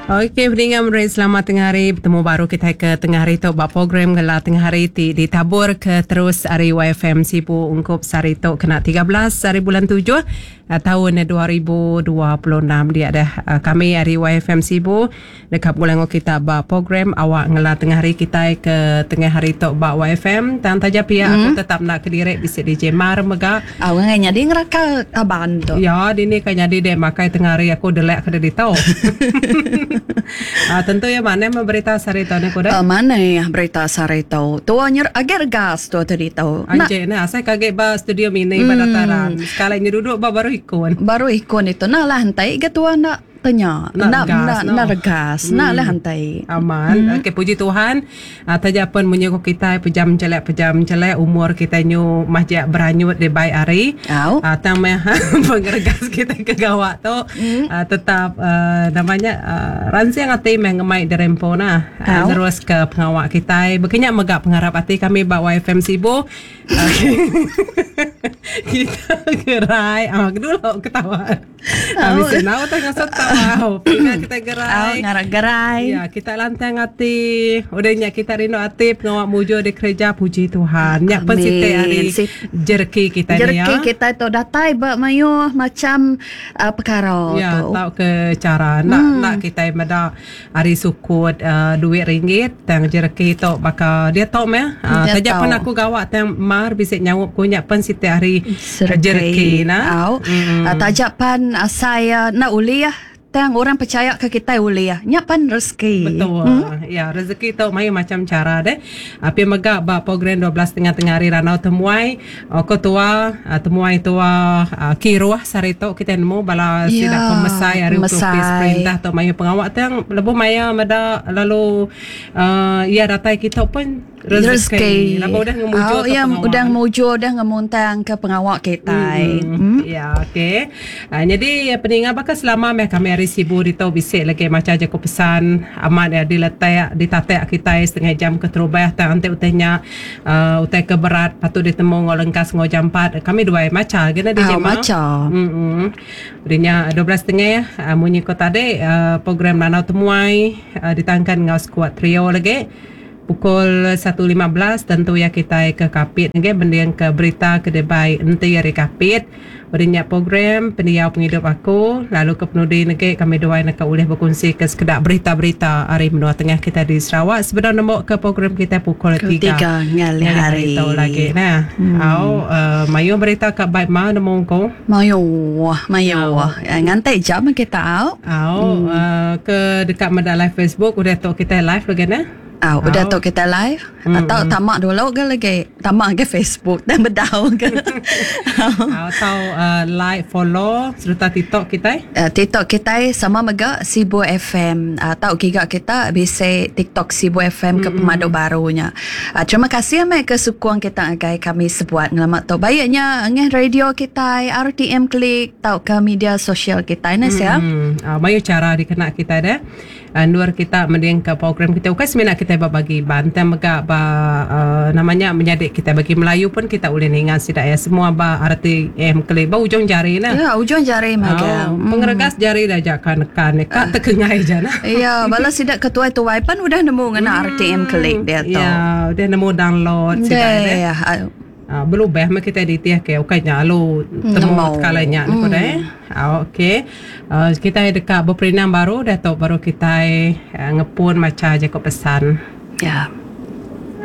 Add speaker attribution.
Speaker 1: Okey peninga meri selamat tengah hari betemu baru kitai ke tengah hari tu ba program ngela tengah hari ti ditabur ke terus ari YFM Sibu ungkup sehari tu kena 13 hari bulan 7 taun 2026 dia dah kami ari YFM Sibu deka begulai enggau kita ba program awak ngela tengah hari kitai ke tengah hari tu ba YFM tang taja pia aku tetap enda kediri bisi DJ Mar mega.
Speaker 2: Au ngai nyadi ngeraka kaban tu.
Speaker 1: Ya dini ka nyadi dek makai tengah hari aku delek ke ditu. Ah tentu iya manah meh berita sehari tu neh ku deh.
Speaker 2: Manah berita sehari tu. Tua nyer agi regas tua tu ditu.
Speaker 1: Anjik neh asai ke agi ba studio mini ba dataran. Sekali nya duduk ba baruh ikon.
Speaker 2: Baruh ikon ditu nah lah entai ga tua enda. Tanya, enda enda enda regas, enda alih antai.
Speaker 1: Amat. Okey puji Tuhan taja pen munyi ku kitai pejam chelek pejam chelek umur kitai nyu majak beranyut dibai hari. Tang meh pengeregas kitai ke gawa tu tetap nama nya ransing ati meh ngemai diri empu nah nerus ke pengawa kitai. Baka nya mega pengarap ati kami ba YFM Sibu. Kita gerai. Ah dulu ketawa. Habis oh. Nau tengah setau. Pinga kita gerai.
Speaker 2: Oh, ngarak gerai.
Speaker 1: Ya, kita lantang ati. Udah nya kita rindu ati pengawa mujur di kerja puji Tuhan. Nya pen siti hari jereki kita
Speaker 2: ni ya. Jereki kita tu datai ba mayuh macam uh, perkara
Speaker 1: ya,
Speaker 2: tu.
Speaker 1: Ya, tau ke cara nak hmm. nak kita meda Ari sukut duit ringgit tang jereki tu baka diatu meh taja pen aku gawa tang mar bisi nyaup ku nya pen siti ari jereki
Speaker 2: nah. Au taja pan asai enda ulih tang orang pechaya ke kitai ulih nya pan rezeki.
Speaker 1: Betul ya rezeki tu mayuh macam chara deh. Pia mega ba program 12 tengah tengah hari randau temuai Ko tua, temuai tua kiruh sehari tu kitai nemu bala sida pemesai ari opis perintah tu mayuh pengawa tang lebuh maya meda lalu iya datai kitu pun rezeki laban udah ngemujur
Speaker 2: ke pengawa. Udah ngemujur udah ngemuntang ke pengawa kitai.
Speaker 1: Ya okey. Nyadi peninga baka selama meh kami ari Sibu ditu bisi lagi macha jaku pesan amat iya diletak ditatak kitai setengah jam keterubah tang enti utai nya Utai ke berat patut ditemu enggau lengkas enggau jampat. Kami duai macha agi ne DJ Ma.
Speaker 2: Macha.
Speaker 1: Hemm. Udah nya 12 setengah munyi ko tadi program Lanau Temuai ditangkan enggau skuad trio lagi. Pukul 1.15 tentu iya kitai ke Kapit agi mending ke berita ke dibai enti ari Kapit. Udah nya program Pendiau Pengidup Aku lalu ke penudi negi kami duai neka ulih bekunsika sekeda berita-berita ari menua tengah kitai di Sarawak sebedau nembuka program kitai pukul tiga ngalih hari tu lagi nah. Au mayuh berita ka bai ma nemu ku.
Speaker 2: Mayuh mayuh nganti jam kita au.
Speaker 1: Au ke deka meda live Facebook udah tu kitai live lagi nah.
Speaker 2: Au udah tu kitai live atau tama dulu ga lagi tama agi Facebook dah bedau ga.
Speaker 1: Atau like follow sereta TikTok kitai.
Speaker 2: TikTok kitai sama mega Sibu FM tau giga kita bisi TikTok Sibu FM ke pemadu baru nya. Terima kasih meh ke sukung kita ngagai kami sebuat ngelama tu. Baik nya ngeh radio kitai RTM Click tauka media sosial kitai neh sia.
Speaker 1: Mayuh chara dikena kitai deh. Endur kita mendingka program kitai ukai semina kitai ba bagi Iban tang mega ba nama nya menyadi kitai bagi Melayu pun kita ulih ninga sida iya semua ba RTM keli ba ujung jari nah.
Speaker 2: Ya ujung jari mega.
Speaker 1: Oh, pengeregas jari dah aja ka nekan ne ka tekengai ja nah.
Speaker 2: Ya bala sida ke tuai-tuai pan udah nemu ngena RTM keli diatu.
Speaker 1: Ya udah nemu download sida iya. Belubah meh kitai ditih ke ukai nya alu temu tekala nya ne ku deh. Okey. Kitai deka beperindang baru dah tu baru kitai ngepun macha jaku pesan.
Speaker 2: Ya.